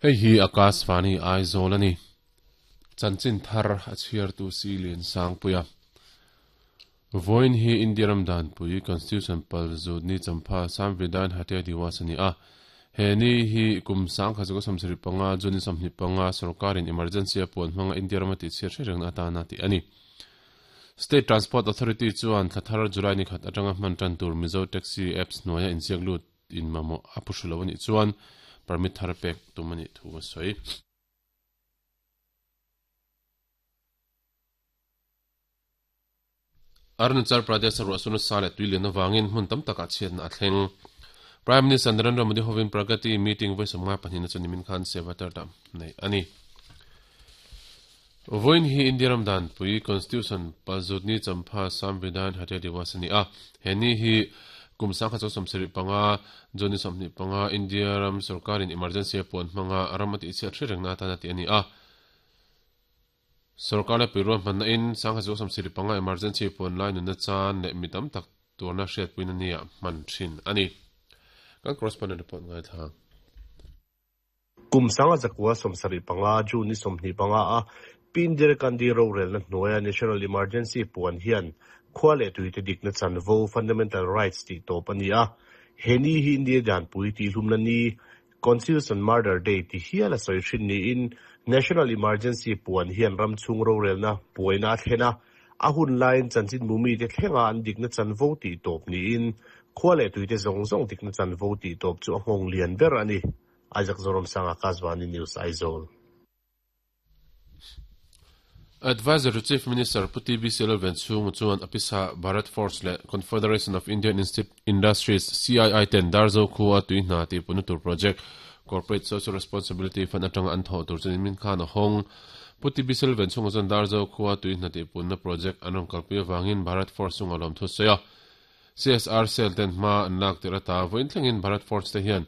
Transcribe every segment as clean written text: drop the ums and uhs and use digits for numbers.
Hei hi Akashvani Aizawl a ni. Chanchin thar a chhiartu si Liansangpuia. Vawiin hi India ram danpui, Constitution, pal zut ni champha Samvidhan Hatya Diwas a ni a. He ni hi kum 1975 June ni 25 sorkarin emergency a puan hmanga India rama tihchhiat hre rengna atana tih a ni. State Transport Authority chuan thla thar July ni khat atanga hman tan tur Mizo Taxi Apps hnuaia inziak lut in mamawh a phu hru lo a nih chuan permit thar pek tum a nih thu a sawi. Arunachal Pradesh-a ruahsur nasa leh tui lian avangin hmun tam takah chhiatna a thleng. Prime Minister Narendra Modi hovin Pragati meeting vawi 52 na chu nimin khan Sevatar-ah neih a ni. Vawiin hi India ram danpui, Constitution, Palzutni Champha Samvidhan Hatya Diwas a ni a. He ni hi kum 1975 June ni 25 India ram sorkarin emergency a puan hmanga ram a tihchhiat hre rengna atana tih a ni a. Sorkar leh puirual hmanna in 1975 emergency puan lai nunna chan leh mi tam tak tuarna hriatpuina nia hman thin a ni. Kan correspondent report ngaithla. Kum 1975 June ni 25 a Pi Indira Gandhi rorelna hnuaia National Emergency puan hian khua leh tuite dikna chanvo, fundamental rights, tih tawp a ni a. He ni hi India danpui tihhlumna ni, Constitution Murder Day, ti hial a sawi hrin niin National Emergency puan hian ram chhung rorelna buaina a thlen a, a hun laiin chanchinbu mite thlenga an dikna chanvo tih tawp niin khua leh tuite zawng zawng dikna chanvo tih tawp chu a nghawng lian ber a ni. Isaac Zoramsanga, Akashvani News, Aizawl. Adviser to Chief Minister Pu TBC Lalvenchhunga chuan a pisa Bharat Forge leh Confederation of Indian Industries, CII, ten Darzo khua tui hna tih puna tur project Corporate Social Responsibility Fund atanga an thawh tur chuan min khan a hawng. Pu TBC Lalvenchhunga chuan Darzo khua tui hna tih punna project an rawn kalpui avangin Bharat Forge chunga lawmthu a sawi a. CSR cell ten hma an lak tirh ata vawiin thlengin Bharat Forge te hian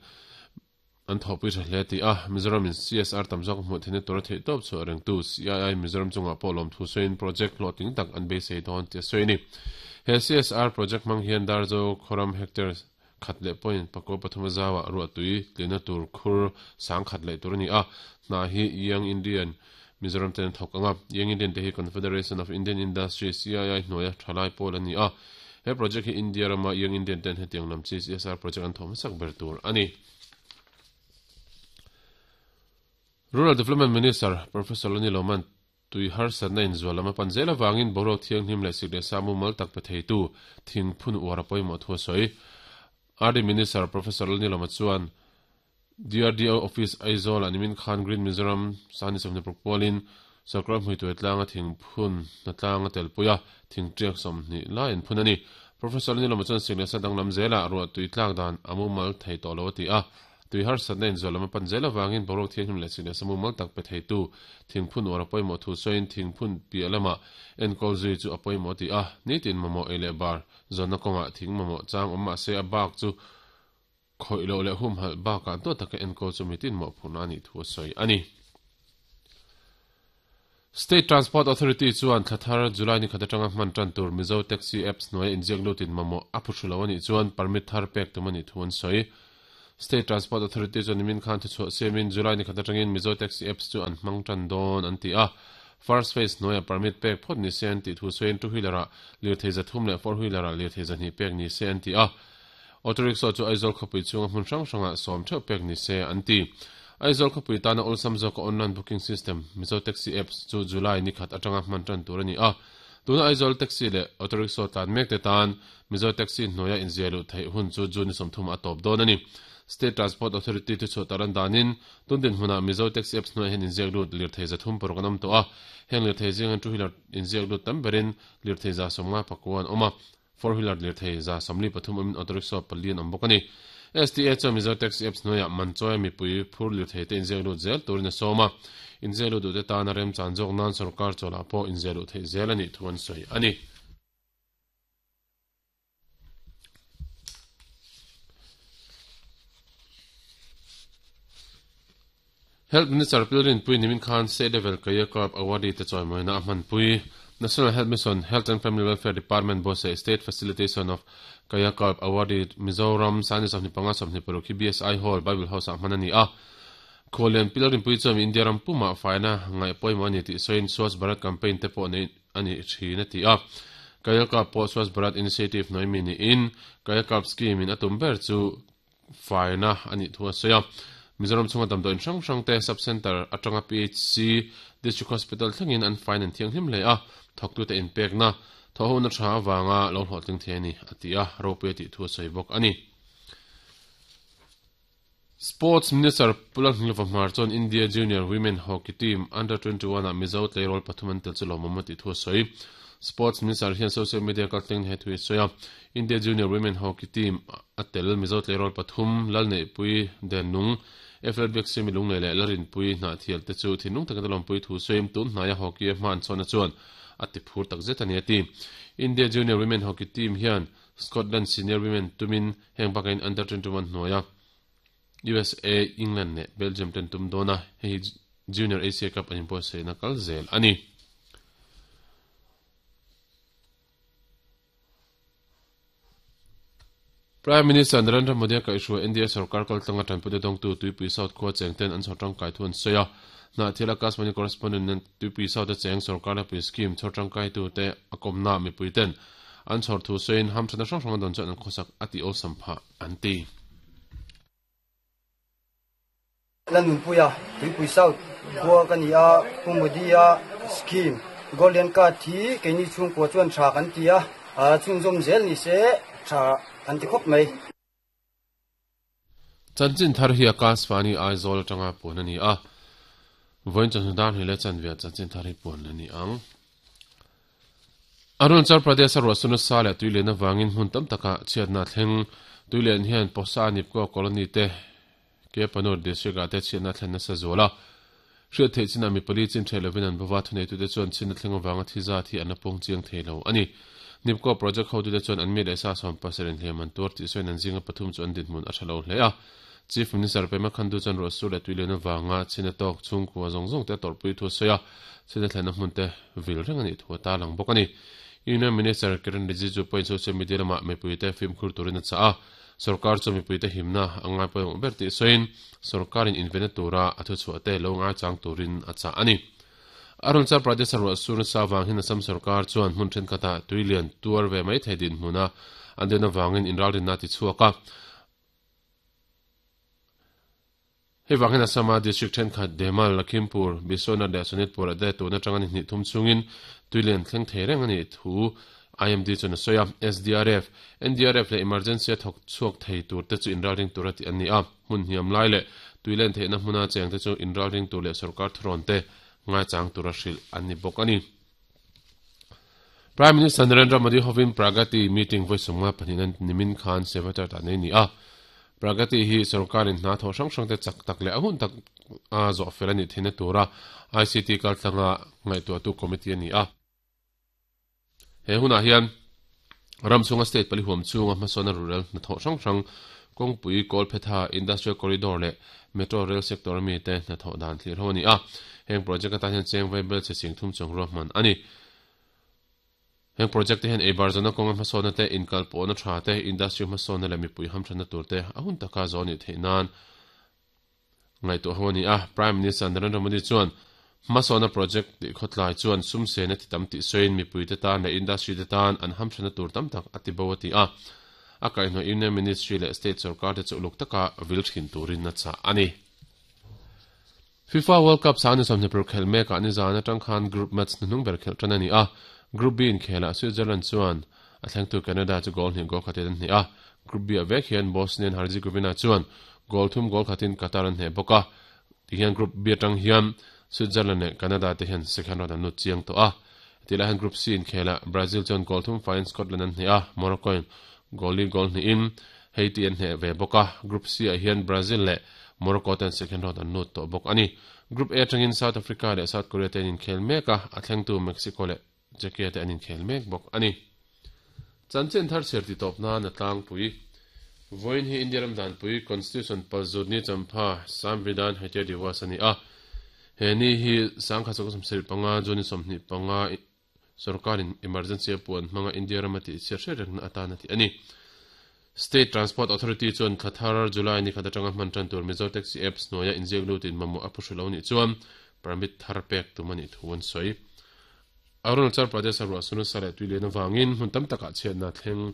an thawhpui tha hle tih a, Mizoram in CSR tam zawk a hmuh theihna tura theihtawp chhuah rengtu CII Mizoram chungah pawh lawmthu sawiin project hlawhtling tak an beisei dawn tih a sawi a ni. He CSR project hmang hian Darzo khawram hectare khat leh point pakua pathum a zauah ruahtui tlina tur khur sang khat leh tur a ni a, hna hi Young Indian Mizoram ten an thawk ang a, Young Indian te hi Confederation of Indian Industry, CII, hnuaia thalai pawl a ni a. He project hi India rama Young Indian ten hetiang lam chi CSR project an thawh hmasak ber tur a ni. Rural Development Minister Professor Lani Loman tui harsatna inzual lam a pan zel avangin boruak thianghlim leh sik leh sa mumal tak pe theitu thing phun uar a pawimawh thu a sawi. RD Minister Professor Lani Loma chuan DRDO Office Aizawl ah nimin khan Green Mizoram Sani 26 pualin sawrkar hmuituai tlanga thingphun hnatlang a telpui a, thingtiak 20 lai an phun a ni. Professor Nilawma chuan sik leh sa danglam zelah ruah tui tlak dan a mumal thei tawh lo a ti a, tui harsatna inzual lam a pan zel avangin boruak thianghlim leh sik leh sa mumal tak pe theitu thingphun uar a pawimawh thu sawiin thingphun piah lamah enkawl zui chu a pawimawh a ti a, nitin mamawh ei leh bar zawnna kawngah thing mamawh chang awm mahse a bak chu Khawih loh leh humhalh bakah duat taka enkawl chu mitin mawhphurhna a nih thu a sawi a ni. State Transport Authority chuan thla thar July ni khat atanga hman tan tur Mizo Taxi Apps hnuaia inziak lutin mamawh a phu hru lo a nih chuan permit thar pek tum a nih thu an sawi. State Transport Authority chuan nimin khan thuchhuah siamin July ni khat atangin Mizo Taxi Apps chu an hmang tan dawn an ti a. First Phase hnuaia permit pek phawt ni se an tih thu sawiin two wheeler-ah lirthei 300 leh four wheeler-ah lirthei 200 pek ni se an ti a. Auto rickshaw chu Aizawl khawpui chhunga hmun hrang hrangah sawm theuh pek ni se an ti. Aizawl khawpui tana awlsam zawka online booking system, Mizo Taxi Apps, chu July ni khat atanga hman tan tur a ni a. Tuna Aizawl taxi leh auto rickshaw tlan mek te tan Mizo Taxi hnuaia inziah luh theih hun chu June ni 30 a tawp dawn a ni. State Transport Authority thuchhuah tar an danin tun dinhmunah Mizo Taxi Apps hnuaiah hian inziak lut lirthei 306 an awm tawh a. Heng lirthei zinga two wheeler inziak lut tam berin lirthei 55 an awm a. Four wheeler lirthei 43 awmin auto rickshaw pali an awm bawk a ni. STA chuan Mizo Taxi Apps hnuaiah Manchawia mipui phur lirthei te inziak lut zel turin a sawm a, inziak lut duhte tana remchan zawk nan sorkar chawlah pawh inziah luh theih zel a nih thu an sawi a ni. Health Minister Pil Rinpui nimin khan State Level Career Corp Awardee te chawimawina a hmanpui. National Health Mission, Health and Family Welfare Department buatsaih State Facilitation of Career Corp Awardee Mizoram 25 26 hi BSI Hall, Bible House ah hman a ni a. Khuallian Pi Lalrinpuii chuan India ram pumah faina ngaih pawimawh a ni tih sawiin Swachh Bharat campaign te pawh neih a ni thin a ti a. Kayakalp pawh Swachh Bharat Initiative hnuai mi niin Kayakalp scheme in a tum ber chu faina a nih thu a sawi a. Mizoram chhunga damdawiin hrang hrang te Sub Centre atanga PHC, District Hospital thlengin an fain an thianghlim hle a, thawktute inpekna, thawhhona tha avanga lo hlawhtling thei a ni, a ti a, ropui a tih thu a sawi bawk a ni. Sports Minister Pu Lalhnilova Hmar chuan India Junior Women Hockey Team Under 21 ah Mizo tleirawl pathum an tel chu lawmawm a tih thu a sawi. Sports Minister hian social media kaltleng he thu hi a sawi a, India Junior Women Hockey Team a tel Mizo tleirawl pathum, Lalneihpui Dennung, FL Biaksiami Lunglei leh Larinpui Hnahthial te chu thinlung takin a lawmpui thu sawiin tun hnaia hockey a hma an chhuahna chuan a ti phur takzet a ni a ti. India Junior Women Hockey Team hian Scotland Senior Women tumin heng bakain Under 21 hnuaia USA, England leh Belgium ten tum dawn a, hei hi Junior Asia Cup an inbuatsaihna kal zel a ni. Prime Minister Narendra Modi a kaihhruai India sorkar kaltlanga tanpuina dawngtu Tuipui South khua cheng ten an chhawr tangkai thu an sawi a. Hnahthial Akashvani correspondent nen Tuipui South a cheng sorkar hlapui scheme chhawr tangkaitute a kawmna mipui ten an chhawr thu sawiin hamthatna hrang hrang a dawn chuan an khawsak a tih awlsam phah an ti. Lanunpuia, Tuipui South khua ka ni a, Pu Modi-a scheme Golden Card hi keini chhungkua chuan tha kan ti a, chhunzawm zel ni se tha kan ti khawp mai. Chanchin thar hi Akashvani Aizawl atanga puan a ni a, vawiin chawhnu dar hnih leh chanve chanchin thar hi puan a ni ang. Arunachal Pradesh a ruahsuna sa leh tuilian avangin hmun tam takah chhiatna a thleng. Tuilian hian Posa Nipko Colony te Kepanur District ah te chhiatna a thlen nasa zual a. Hriat theih chinah mi pali chin ṭheh lovin an bova, thuneitute chuan chhin a thleng avanga thi zat hi an la pawng chiang thei lo a ni. Nipko project hotute chuan an mi leh sa 70 hliam an tuar tih sawiin an zinga pathum chu an dinhmun a ṭha lo hle a. Chief Minister Pema Khandu chuan ruahsur leh tuilian avanga chhin a tawk chhungkua zawng zawng te a tawrhpui thu a sawi a, chhin a thlenna hmun te vil reng a nih thu a tarlang bawk a ni. Union Minister Kiren Rijiju pawhin social media lamah mipuite fimkhur turin a chah a, sorkar chuan mipuite himna a ngai pawimawh ber tih sawiin sorkarin invenna tura a thuchhuah te lo ngaichang turin a chah a ni. Arunachal Pradesh-a ruahsur nasa avang hian Assam sorkar chuan hmun thenkhatah tuilian tuar ve mai thei dinhmuna an den avangin inralrinna a tichhuak a. Hei vang hian Assam-a district thenkhat Demal, Lakhimpur, Biswanath leh Sonitpur-ah te tun atanga ni hnih thum chungin tuilian thleng thei reng a nih thu IMD chuan a sawi a. SDRF, NDRF leh emergency a thawk chhuak thei tur te chu inralring tura tih an ni a. Hmun hniam lai leh tuilen theihna hmuna cheng te chu inralring tur leh sorkar thurawn te ngaichang tura hrilh an ni bawk a ni. Prime Minister Narendra Modi hovin Pragati meeting vawi 52 an nimin khan Sevatar ah nei ni a. Pragati hi sorkarin hna thawh hrang hrang te chak tak leh a hun tak a zawh fel a nih theihna tura ICT kaltlanga ngaihtuahtu committee a ni a. He hunah hian ram chhunga state pali huam chhunga hmasawnna rural hnathawh hrang hrang kawngpui, Kawlphetha, Industrial Corridor leh Metro Rail sector a mite hnathawh dan thlir ho a ni a. Heng project atan hian cheng vaibel chhe sing thum chuang ruahman a ni. Heng project te hian eibar zawhna kawnga hmasawnna te, inkalpawhna tha te, industry hmasawnna leh mipui hamthatna tur te a hun taka zawh a nih theih nan ngaihtuah ho a ni a. Prime Minister Narendra Modi chuan hmasawnna project tih khawtlai chuan sum sen a ti tam tih sawiin mipuite tan leh industry te tan an hamthatna tur tam tak a ti bo a ti a. A kaihhnawih Union Ministry leh State sorkar te chu uluk taka vil thin turin a chah a ni. FIFA World Cup sang ni 21 khelh mekah nizan atang khan group match hnuhnung ber khelh tan a ni a. Group B inkhelah Switzerland chuan a thlengtu Canada chu goal hnih goal khatin an hneh a. Group B-ah vek hian Bosnia and Herzegovina chuan goal thum goal khatin Qatar an hneh bawk a. Tihian Group B atang hian Switzerland leh Canada te hian second round an lut chiang tawh a. Hetihlai hian Group C inkhelah Brazil chuan goal thum faiin Scotland an hneh a, Morocco in goal li goal hnihin Haiti an hneh ve bawk a. Group C ah hian Brazil leh Morocco ten second round an lut tawh bawk a ni. Group A atangin South Africa leh South Korea te an inkhel mek a, a thlengtu Mexico leh Czechia te an inkhel mek bawk a ni. Chanchin thar chhiar ti tawp nan a tlangpui. Vawiin hi India ram danpui Constitution Palzutni Champha Samvidhan Haitya Diwas a ni a. He ni hi sangkhat sawka 75 June 25 sorkarin emergency a puan hmanga India rama tihchhiat hriat rengna atan a ti a ni. State Transport Authority chuan thla thar July ni khat atanga hman tan tur Mizo Taxi Apps hnuaia inziak lutin mamawh a phuhru lo nih chuan permit thar pek tum a nih thu an sawi. Arunachal Pradesh-a ruah su nasa leh tui lian avangin hmun tam takah chhiatna a thleng.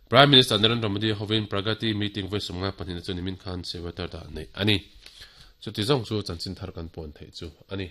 Prime Minister Narendra Modi hovin Pragati meeting vawi 52 na chu nimin khan Sevatar dah neih a ni. Chuti zawng chu chanchin thar kan puan theih chu a ni.